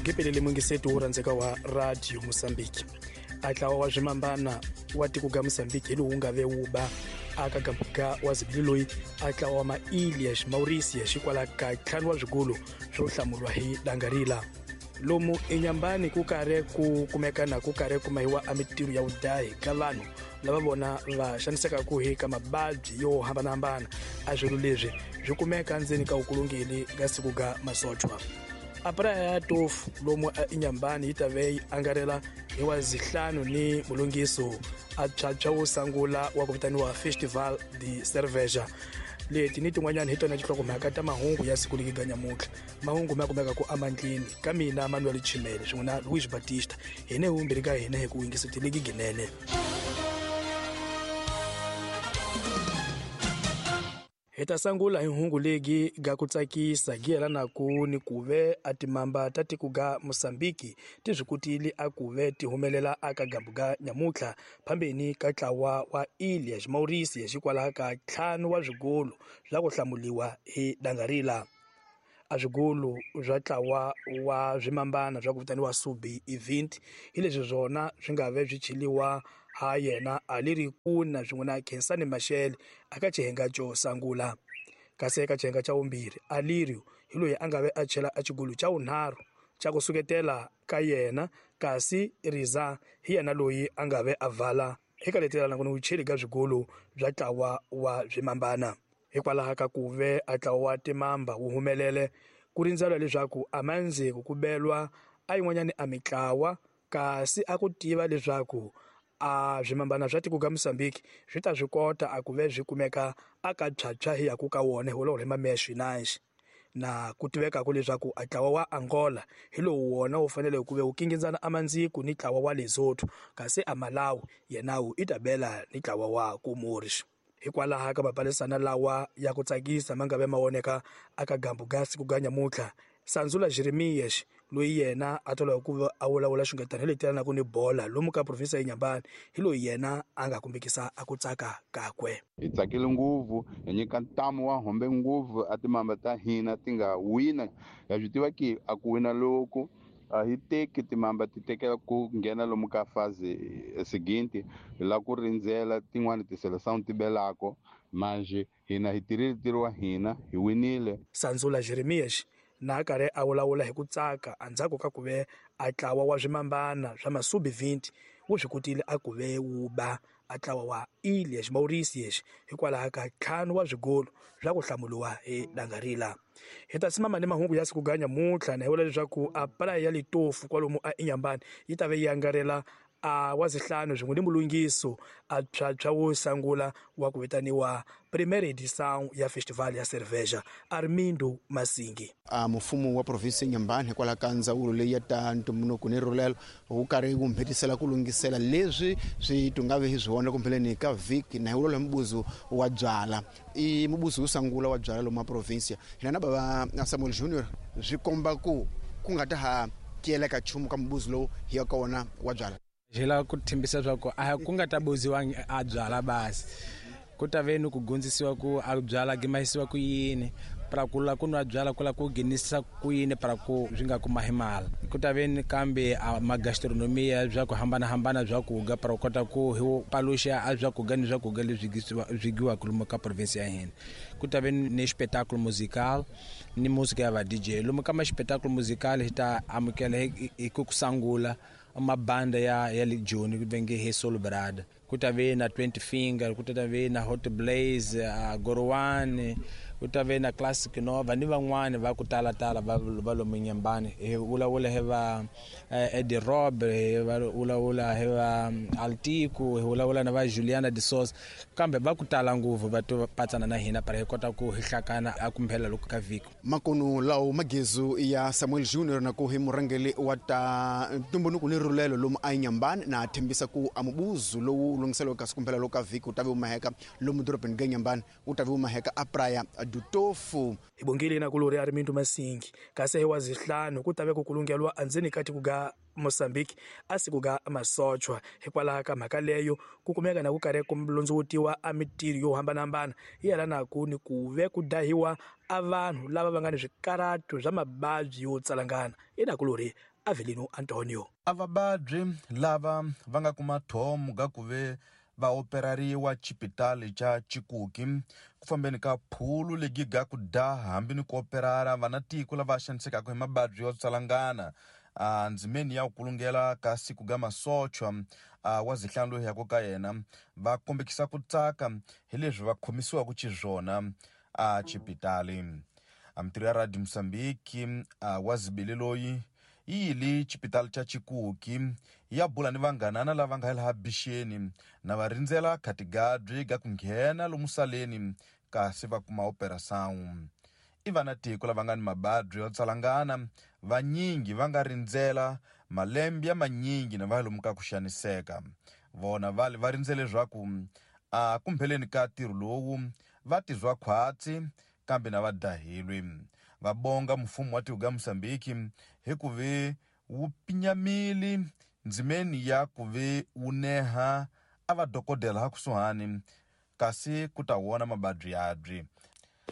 Ngipelele mungiseti wo rhandzeka wa Radio Mozambique. A ntlawa wa swimambana wa tiko ga Mozambique hi lowu nga ve wu ba aka gambuka wa zibili loyi a ntlawa wa mailias Mauritius hikwalaho ka 5 wa swigulu swo hlamuriwa hi dangarila. Lomu enyambani ku karhi ku kumeka na ku karhi ku mahiwa a mitirho ya vudahi ka vanhu lava vona va xanisekaka hi ka mababyi yo hambanahambana. A swilo leswi swi kumeka ndzeni ka vukulungeli ka siku ga masochwa. A praia ya Tofu lomu enyambani yi ta ve yi angarela hi wa zihlanu ni mulungiso a phyaphywa wo sungula wa ku vitaniwa Festival de Cerveja. Leti ni tin'wanyana hi tona tinhlokomhaka ta mahungu ya siku leri ga nyamuntlha. Mahungu ma kumeka ku amandleni ka mina Manuel Chimele swin'we na Luis Batista. Hina hi vumbirhi ka hina hi ku yingisa tiligi ginene. Hi ta sungula hi hungu legi ga ku tsakisa gi yelanaku ni ku ve a timamba ta tiko ga Mozambique ti swi kotile a ku ve ti humelela aka gambu ga nyamuntlha phambeni ka ntlawa wa Ilhas Mauritius hikwalaho ka 5 wa swigolo swa ku hlamuliwa hi dangarila. A swigolo swa ntlawa wa swimambana swa ku vitaniwa Subi Event hi leswi swona swi nga ve swi cheliwa ha yena Aliri Kuna swin'we na Khensani Mashele aka xihenga xo sungula. Kasi eka xihenga xa vumbirhi Alirio hi loyi a nga ve a chela a xigolo xa vunharhu xa ku suketela ka yena, kasi Riza hi yena loyi a nga ve a vala eka letelana ku ni vucheli ka swigolo bya ntlawa wa swimambana. Hikwalaho ka ku ve a ntlawa wa timamba wu humelele ku rindzela leswaku a mandziko ku belwa a yin'wanyani a mitlawa, kasi a ku tiva leswaku a swimambana swa tiko ga Mozambique swi ta swi kota a ku ve swi kumeka aka phyaphywa hi yaku ka wona hi wolowo hi mameya swinanxi. Na ku tivekaka leswaku a ntlawa wa Angola hi lowu wona wu fanele ku ve wu kingindzana a mandziko ni ntlawa wa Lesotho, kasi a Malawi yena wu i ta bela ni ntlawa wa Comores. Hikwalaho ka mapalisana lawa ya ku tsakisa ma nga ve ma voneka aka gambu ga siku ga nyamuntlha, Sanzula Jeremias loyi yena a twala hi ku va a vulavula xingatana hi leti yelanaka ni bola lomu ka province ya Inhambane hi loyi yena a nga kombekisa a ku tsaka kakwe. Hi tsakile ngopfu, hi nyika ntamu wa hombe ngopfu a timamba ta hina ti nga wina. Ha swi tiva ki a ku wina loku a hi teki timamba ti tekela ku nghena lomu ka fazi seguinte, hi lava ku rindzela tin'wani tiseleção ti belako. Manje hina hi tirhile ntirho wa hina, hi winile. Sanzula Jeremias na karhi a vulavula hi ku tsaka endzhaku ka ku ve a ntlawa wa swimambana swa Masubi 20 wu swi kotile a ku ve wu ba a ntlawa wa Ilhas Mauritius hikwalaho ka 5 wa swigolo swa ku hlamuriwa hi dangarila. Hi ta simama ni mahungu ya siku ga nyamuntlha na hi vula leswaku a praia ya Litofu kwalomu a Inhambane yi ta ve yi angarela a wa zihlanu swin'we ni mulungiso a phyaphywa wo sungula wa ku vitaniwa Primeira Edição ya Festival ya Cerveja Armindo Masingi. A mfumo wa province ya Inhambane hikwalaho ka ndzawulo leyi ya ta ntumbuluko ni rhulelo wu karhi wu mhetisela ku lunghisela leswi swi tungave hi swi vona kumbheleni ka vhiki na hi wolowo mubuzu wa byala. I mubuzu wo sungula wa byala lomu province hina na bava Samuel Junior swi komba ku ku nga ta ha tiyeleka nchumu ka mubuzu lowu hi ya ka wona wa byala. Hi lava ku tshembisa leswaku a ku nga ta buziwa a byala basi, ku ta ve ni ku dyondzisiwa ku a byala gimayisiwa ku yini, para ku la ku nwa byala ku la ku nghenisa ku yini para ku swi nga kuma hi mali. Ku ta ve ni kambe a magastronomia bya ku hambanahambana bya ku ga para ku kota ku hi paluxa a bya ku ga ni swa ku ga leswi swi giwaka lomu ka province ya hina. Ku ta ve ni xipetakulo musical ni music ya va DJ. Lomu ka ma xipetakulo musical hi ta amukela hi ku sungula mabanda ya le Joni ku venge hi Soul Brother. Ku ta ve na 20 Finger, ku ta ve na Hot Blaze, Gorowani, ku ta ve na Classic Nova ni van'wani va ku tala tala va lomu Inhambane. Hi vulavula hi va Eddie Rob, hi vulavula hi va Altico, hi vulavula na va Juliana de Souza, kambe va ku tala ngopfu va to patsana na hina para hi kota ku hi hlakana a kumphela loko ka vhiki. Makunu lawo magezu ya Samuel Junior na ku hi murhangeri wa ta ntumbuluko ni rhulelo lomu a Inhambane na tshembisa ku a mubuzu lowu lunghiseleke kasi kumphela loko ka vhiki wu ta ve wu maheka lomu dorobeni ga Inhambane wu ta ve wu maheka a Praia do Tofu. Hi bongile na kulori Armindo Masingi kasi hi wa zihlanu ku ta ve ku kulungelwa endzeni ka tiko ga Mozambique a siku ga masochwa. Hikwalaho ka mhaka leyo ku kumeka na ku karhi ku londzovutiwa a mitirho yo hambanahambana yi yelanaku ni ku ve ku dahiwa a vanhu lava va nga ni swikarhato swa mavabyi yo tsalangana. I nakulori Avelino Antonio. A vababyi lava va nga kuma thomo ga ku ve va operariwa xipitali xa Chikuki ku fambeni ka phulu legi ga ku da hambi ni ku operara vana tiko lava xanisekaka hi mababyi yo tsalangana a ndzimeni ya ku kulungela ka siku ga masochwa wa zihlanu loyi yako ka yena va kombekisa ku tsaka hi leswi va khomisiwaka xiswona a xipitali. A mitirho ya Radio Mozambique wa zibili loyi yi yili xipitali xa Chikuki ya bula ni vanghanana lava nga laha bixeni na va rindzela khatigadyi ga ku nghena lomu saleni kasi va kuma operação. I vana tiko lava nga ni mababyi yo tsalangana vanyingi va nga rindzela malembe ya manyingi na va lomu ka ku xaniseka. Vona vale va rindzele leswaku a kumpheleni ka ntirho lowu va tizwa khwatsi kambe na va dahilwe. Va bonga mfumo wa tiko ga Mozambique hi ku ve wu pinyamile ndzimeni ya ku ve wu neha a va dokodela ha kusuhani kasi ku ta wona mababyi yabyi.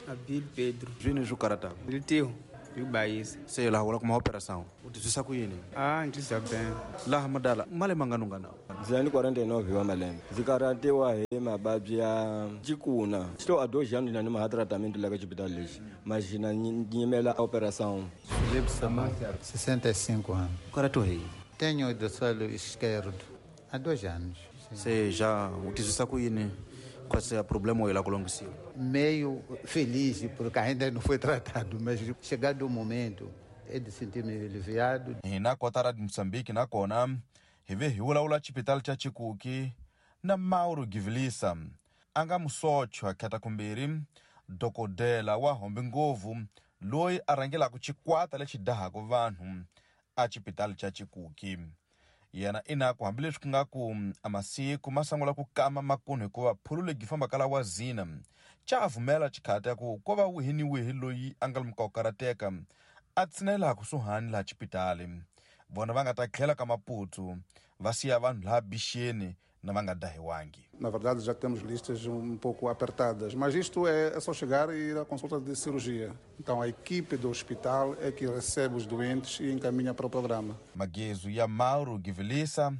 Abil Pedro. Zwini zwi karata? Litiho, yubayisa. Se laha wala kuma operação. U tizwisa ku yini? Ndzi bem. Laha madala male mangano ngana. Ndzi na 49 wa malembe. Ndzi karatiwa hi mababyi ya chikuna. Estou há 2 anos na numa tratamento lá ka xipitali lexi. Mas na nyimela operação. Felipe Samuel, 65 anos. U karatiwa hi yini? Tenho do solo esquerdo há 2 anos. Se já u tizwisa ku yini? Qual é o problema lá com Meio feliz porque ainda não foi tratado, mas chegado o momento é de sentir-me aliviado. Hina kota ra Mozambique na kona hi ve hi vulavula xipitali xa Chikuki na Mauro Givilisa a nga musochwa khata kumbirhi dokodela wa hombe ngopfu loyi a rhangelaka xikwata lexi dahaka vanhu a xipitali xa Chikuki. Yena ina ku hambileswi ku nga ku a masiku ma sungula ku kama makunhu hikuva phulu legi fambaka la wa zina xa vumela xikhati ya ku ko va wihi ni wihi loyi a nga lomu ka ku karateka a tshinela kusuhani laha xipitali. Vona va nga ta tlhela ka Maputo va siya vanhu laha bixeni na va nga dahiwangi. Na verdade já temos listas pouco apertadas, mas isto é só chegar e ir à consulta de cirurgia. Então a equipe do hospital é que recebe os doentes e encaminha para o programa. Magezu ya Mauro Givilisa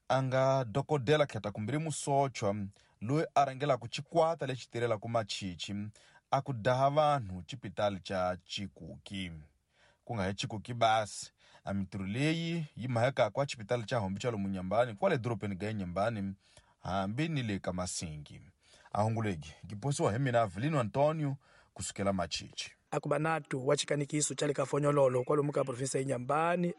a nga dokodela kheta kumbirhi musochwa loyi a rhangelaka xikwata lexi tirhelaka machichi a ku daha vanhu xipitali xa Chikuki. Ku nga hi Chikuki basi, a mitirho leyi yi mahekaka a xipitali xa Hombe xa lomu Nyambani kwale dorobeni ga Nyambani hambi ni le ka Masingi. A hunguleki giposiwa hi mina Avelino Antonio kusukela Machichi. Akuba natu wa xikanikiso xa le ka Fonyololo kwalomu ka provinsi ya Nyambani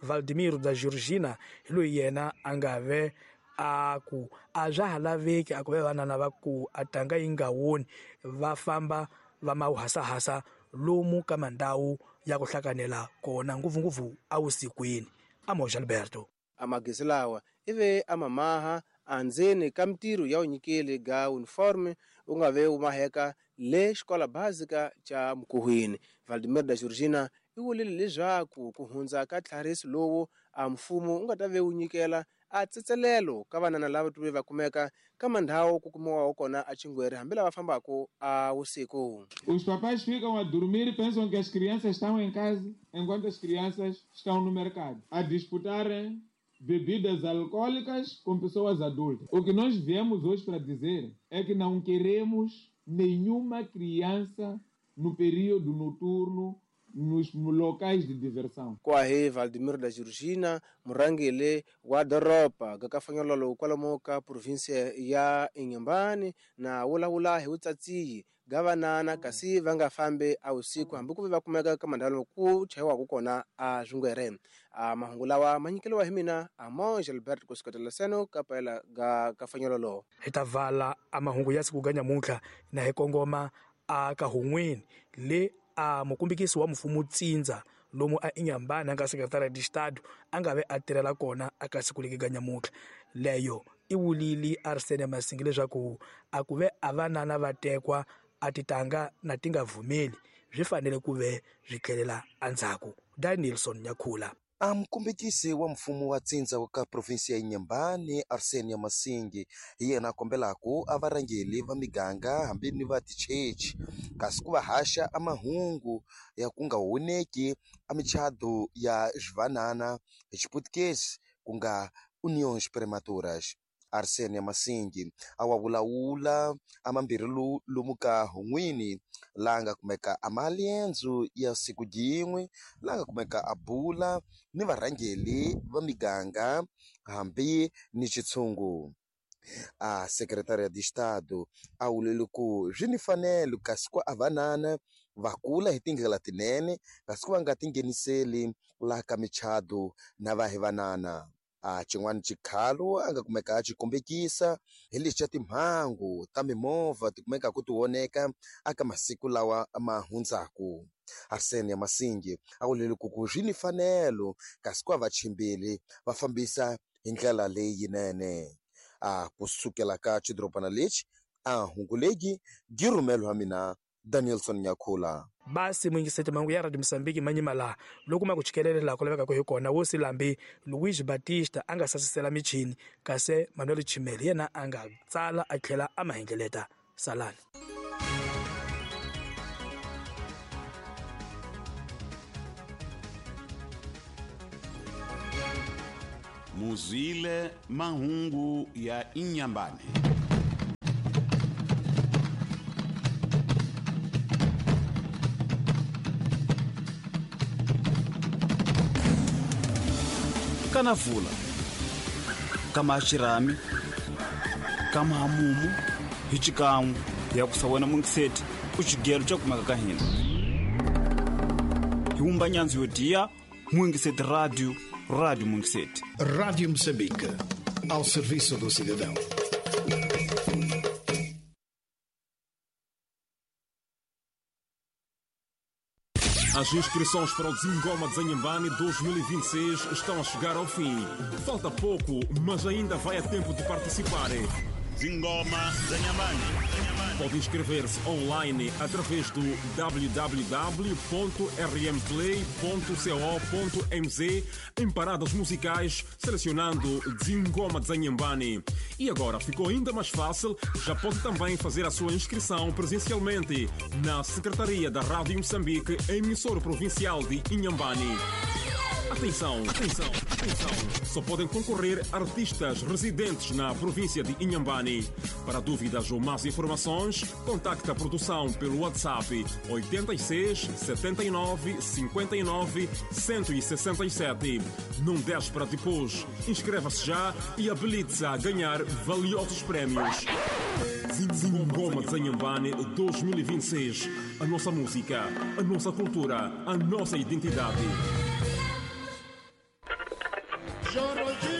Valdimiro da Georgina hi loyi yena a nga ve a ku a swa ha laveki a ku ve vanana va ku a tanga yi nga woni va famba va mawuhasahasa lomu ka mandhawu ya ku hlanganela kona ngopfungopfu awusikwini. Amoja Alberto. Amagezi lawa ive amamaha andzeni ka mitirho ya unyikeli ga uniforme u nga ve u maheka le xikola básica xa Mkuhwini. Valdimir da Georgina i vulile leswaku ku hundza ka tlhariso lowu a mfumo u nga ta ve wu nyikela a tsetselelo ka vanana lava tuve va kumeka ka mandhawu ku kumiwaho kona a Chingwere hambi lava fambaka a vusiku. Os papais ficam a dormir e pensam que as crianças estão em casa, enquanto as crianças estão no mercado, a disputarem bebidas alcoólicas com pessoas adultas. O que nós viemos hoje para dizer é que não queremos nenhuma criança no período noturno nos locais de diversão. Kwahe Valdimir da Georgina, murhangeri wa doroba ga Kafanyololo kwalomu ka provinsia ya Inhambane na vulavula hi vutsatsiyi ga vanana kasi va nga fambi a vusiku hambi ku ve va kumeka ka mandhawu ku chayiwaka kona a swingwere. A mahungu lawa ma nyikeriwa hi mina Amonge Albert kusuketela seno ka paela ga Kafanyololo. Hi ta vala a mahungu ya siku ga nyamuntlha na hi kongoma a ka hun'wini le a mukumbikisi wa mfumo Tsindza lomu a Inhambane a nga sekretariya de Estado a nga ve a tirhela kona a ka siku leki ga nyamuntlha. Leyo i wulili Arsene Masingi leswaku a ku ve a vanana va tekwa a titanga na ti nga vumeli swi fanele ku ve swi tlhelela endzhaku. Danielson Nyakhula. A mukombekisi wa mfumo wa tsindza wa ka provinsi ya Inhambane Arsenio Masingi hi yena a kombelaku a varhangeli va miganga hambi ni va tichechi kasi ku va haxa a mahungu ya ku nga honeki a michado ya xivanana hi Xiputukezi ku nga uniões prematuras. Arsenio Masingi a wa vulavula a mambirhi lomu ka Hun'wini laha nga kumeka a maliendzo ya siku jin'we laha nga kumeka a bula ni varhangeli va miganga hambi ni xitshungu. A Secretaria de Estado a vulele ku swi ni fanelo kasi ku a vanana va kula hi tindlela tinene kasi ku va nga tingheniseli laha ka michado na va hi vanana. A xin'wana xikhalo a nga kumeka a xi kombekisa hi lexi xa timhangu ta mimovha ti kumekaku ti oneka aka masiku lawa ma hundzaku. Arsenio Masingi a vulele ku ku swi ni fanelo kasi ku a vachimbeli va fambisa hi ndlela leyinene. A kusukela ka xidorobana lexi a hungu legi gi rhumeliwa mina Danielson Nyakhula. Basi muyingiseti mahungu ya Radio Mozambique manyima laha loko ma ku chikelela laha ku lavekaka hi kona wo silambi Luis Batista a nga sasisela michini kasi Manuel Chimeli yena a nga tsala a tlhela a mahengeleta. Salani. Muzwile mahungu ya Inhambane. Kana vula kama xirhami kama hamumu hi xikan'we ya ku sawena mungiseti ku xigelo xa kumeka ka hina hi wumba nyandzu yo diya mungiseti radio radio mungiseti. Rádio Moçambique, ao serviço do cidadão. As inscrições para o Zingoma de Inhambane 2026 estão a chegar ao fim. Falta pouco, mas ainda vai a tempo de participar. Zingoma de Inhambane. Pode inscrever-se online através do www.rmplay.co.mz em paradas musicais, selecionando Zingoma de Inhambane. E agora ficou ainda mais fácil, já pode também fazer a sua inscrição presencialmente na Secretaria da Rádio Moçambique, emissora provincial de Inhambane. Atenção, atenção, atenção! Só podem concorrer artistas residentes na província de Inhambane. Para dúvidas ou mais informações, contacte a produção pelo WhatsApp 86 79 59 167. Não deixe para depois. Inscreva-se já e habilite-se a ganhar valiosos prémios. Zingoma de Inhambane 2026. A nossa música, a nossa cultura, a nossa identidade. Choro.